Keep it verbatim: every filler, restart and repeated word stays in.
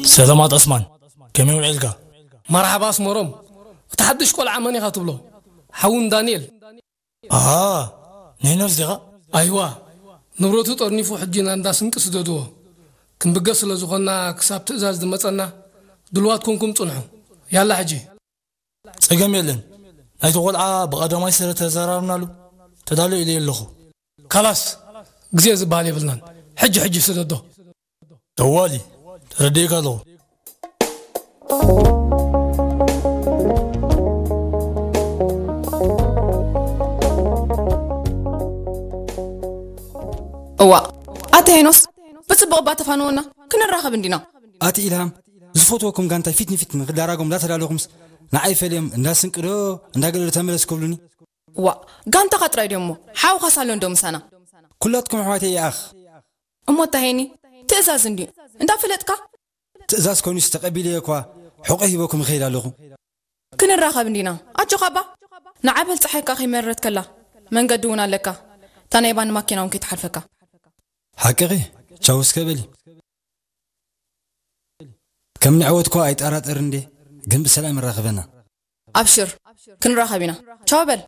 ሰላማት ዑስማን፣ ከመይ ውዒልካ? መርሐባ ኣስመሮም፣ እቲ ሐድሽ ቆልዓ መን ኢኻ ትብሎ? ሐውን ዳንኤል። ኣሃ፣ ንሄኖስ ዲኻ? ኣይዋ፣ ንብረቱ ጠርኒፉ ሕጂ ናንዳ ስንቂ ስደድዎ። ክንብገስ ስለ ዝኾንና ክሳብ ትእዛዝ ዝመጸና ድልዋት ኮንኩም ጽንሑ። ያላ ሕጂ። ጸገም የለን። ናይቲ ቆልዓ ብቐዳማይ ስረ ተዘራርብናሉ። ተዳሎ ኢለ ኣለኹ። ካላስ፣ ግዜ ዝበሃል የብልናን። ሕጂ ሕጂ ስደዶ። ጠዋሊ፣ ተረዲእካ ኣለኹ። እዋእ፣ ኣቲ ሄኖስ፣ ብጽቡቕ እባ ተፋንወና፣ ክንራኸብ እንዲና። ኣቲ ኢልሃም፣ ዝፈትወኩም ጋንታይ ፊት ንፊት ንክዳራጎም እንዳተዳለኹምስ፣ ንዓይ ፈልዮም እንዳ ስንቂ ዶ እንዳ ገለ ዶ ተመለስ ክብሉኒ? ዋእ፣ ጋንታኻ ጥራይ ድዮም እሞ፣ ሓውኻ ሳሎ እንዶ ምሳና። ኩላትኩም ኣሕዋተይ ይኣኽ። እሞ እታ ሄኒ፣ ትእዛዝ እንድዩ፣ እንዳፈለጥካ? ትእዛዝ ኮይኑስ ተቀቢለዮ እኳ፣ ሑቀ ሂበኩም እኸይድ ኣለኹ። ክንራኸብ እንዲና፣ ኣጆኻ እባ። ንዓ በል ጸሓይካ ከይመረረት ከላ፣ መንገዲ እውን ኣለካ። እታ ናይ ባኒ ማኪና እውን ከይትሓልፈካ። ሓቅኺ፣ ቻው እስከ በሊ። ከም ንዕወትኮ ኣይጠራጠር እንዴ፣ ግን ብሰላም ይራኽበና። ኣብሽር፣ ክንራኸብ ኢና። ቻው በል።